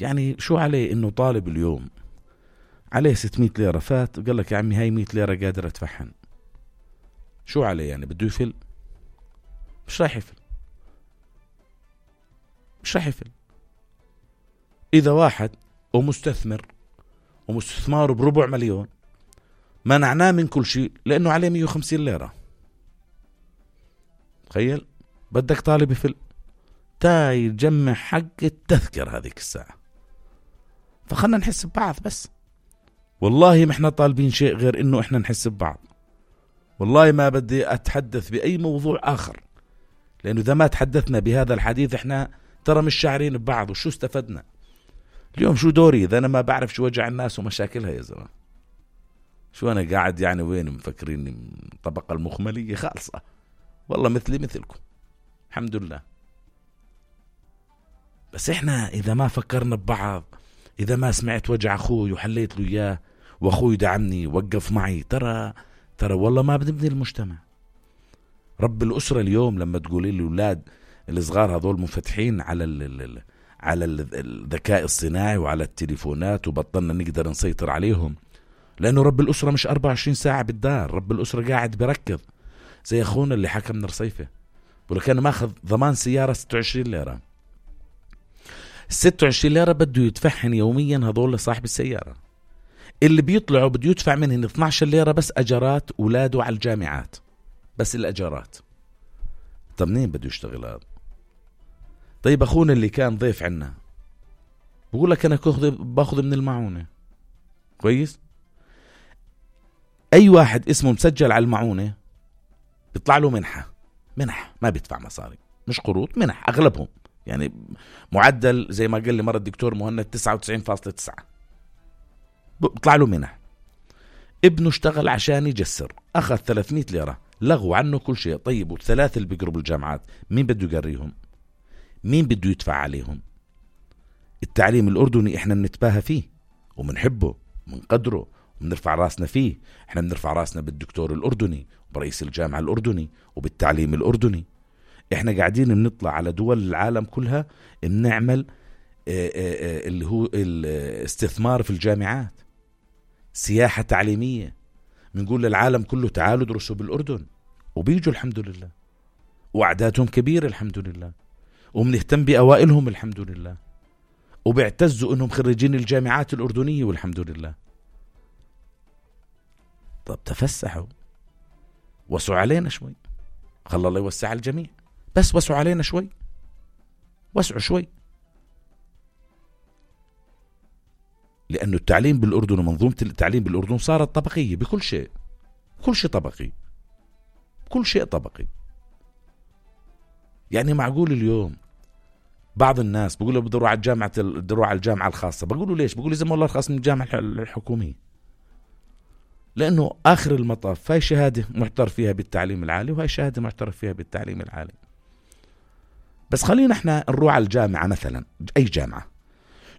يعني شو عليه إنه طالب اليوم عليه 600 ليرة فات قال لك يا عمي هاي 100 ليرة قادر أتفحن، شو عليه يعني بده يفل؟ مش راح يفل، مش راح يفل. إذا واحد ومستثمر ومستثماره بربع مليون منعناه من كل شيء لأنه عليه 150 ليرة، تخيل بدك طالب يفل تاي يجمع حق التذكر هذيك الساعة. فخلنا نحس ببعض بس، والله ما احنا طالبين شيء غير انه احنا نحس ببعض. والله ما بدي اتحدث باي موضوع اخر، لانه اذا ما تحدثنا بهذا الحديث احنا ترى مش شاعرين ببعض. وشو استفدنا اليوم؟ شو دوري اذا انا ما بعرف شو وجع الناس ومشاكلها يا زلمة؟ شو انا قاعد يعني وين مفكريني الطبقة المخملية خالصة؟ والله مثلي مثلكم الحمد لله. بس احنا اذا ما فكرنا ببعض، اذا ما سمعت وجع اخوي وحليت له اياه واخوي دعمني وقف معي، ترى والله ما بنبني المجتمع. رب الأسرة اليوم لما تقولي لي الاولاد الصغار هذول منفتحين على الذكاء الصناعي وعلى التليفونات وبطلنا نقدر نسيطر عليهم، لانه رب الأسرة مش 24 ساعة بالدار، رب الأسرة قاعد بركض. زي اخونا اللي حكى من رصيفة بقول لك انا ماخذ ضمان سيارة 26 ليرة، 26 ليرة بده يدفعهن يوميا هذول صاحب السيارة. اللي بيطلعوا بده يدفع منهن 12 ليرة بس أجرات أولاده على الجامعات، بس الأجرات. طب منين بده يشتغل هذا؟ طيب أخونا اللي كان ضيف عنا بقول لك أنا باخذ من المعونة، كويس؟ أي واحد اسمه مسجل على المعونة بيطلع له منح ما بيدفع مصاري، مش قروض، منح أغلبهم يعني معدل زي ما قال لي مرة الدكتور مهند 99.9 بيطلع له منح. ابنه اشتغل عشان يجسر أخذ 300 ليرة، لغوا عنه كل شيء. طيب والثلاثة اللي بيقربوا الجامعات مين بده يقريهم؟ مين بده يدفع عليهم؟ التعليم الأردني احنا بنتباهى فيه ومنحبه ومنقدره وبنرفع راسنا فيه. احنا بنرفع راسنا بالدكتور الأردني وبرئيس الجامعة الأردني وبالتعليم الأردني. احنا قاعدين بنطلع على دول العالم كلها بنعمل اللي هو الاستثمار في الجامعات، سياحة تعليمية، بنقول للعالم كله تعالوا درسوا بالأردن، وبيجوا الحمد لله، وأعدادهم كبيرة الحمد لله، وبنهتم بأوائلهم الحمد لله، وبيعتزوا انهم خريجين الجامعات الأردنية والحمد لله. طب تفسحوا، وسعوا علينا شوي، خلى الله يوسع الجميع، بس وسعوا علينا شوي، وسعوا شوي. لأنه التعليم بالأردن ومنظومة التعليم بالأردن صارت طبقية بكل شيء، كل شيء طبقي، كل شيء طبقي. يعني معقول اليوم بعض الناس بيقولوا بده يروح على الجامعة الخاصة، بقولوا ليش؟ بقولوا زي ما الله رخص من الجامعة الحكومية، لأنه آخر المطاف هاي شهادة معترف فيها بالتعليم العالي وهاي شهادة معترف فيها بالتعليم العالي. بس خلينا احنا نروح على الجامعة مثلا، أي جامعة،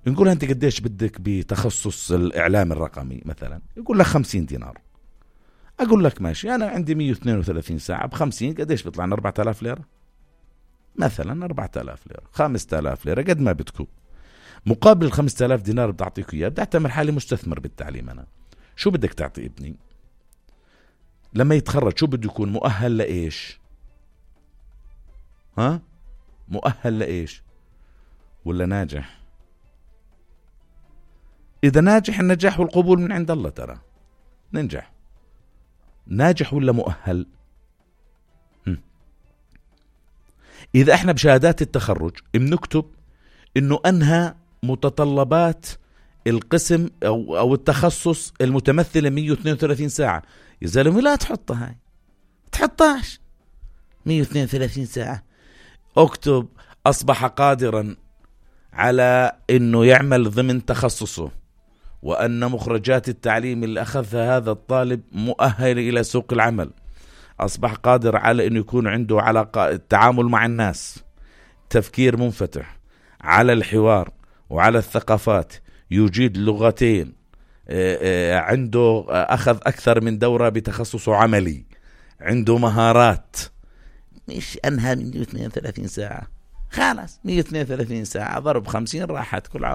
نقول أنت قديش بدك بتخصص الإعلام الرقمي مثلا، يقول لك 50 دينار. أقول لك ماشي، أنا عندي 132 ساعة ب50 قديش بيطلعنا؟ 4000 ليرة مثلا، 4000 ليرة، 5000 ليرة، قد ما بدكم. مقابل 5000 دينار بدي أعطيك إياه، بدي أعتبر حالي مستثمر بالتعليم. أنا شو بدك تعطي ابني لما يتخرج؟ شو بده يكون مؤهل لإيش؟ ها؟ مؤهل لإيش؟ ولا ناجح؟ إذا ناجح، النجاح والقبول من عند الله، ترى ننجح. ناجح ولا مؤهل؟ إذا احنا بشهادات التخرج بنكتب إنه أنهى متطلبات القسم أو التخصص المتمثلة 132 ساعة، يا زلمة لا تحطها، هاي تحطهاش 132 ساعة. اكتب أصبح قادرا على إنه يعمل ضمن تخصصه، وأن مخرجات التعليم اللي أخذها هذا الطالب مؤهل إلى سوق العمل، أصبح قادر على أنه يكون عنده علاقة، التعامل مع الناس، تفكير منفتح على الحوار وعلى الثقافات، يجيد لغتين، عنده أخذ أكثر من دورة بتخصصه عملي، عنده مهارات. مش أنهى من 132 ساعة، خلاص 132 ساعة ضرب 50 راحت كل عام.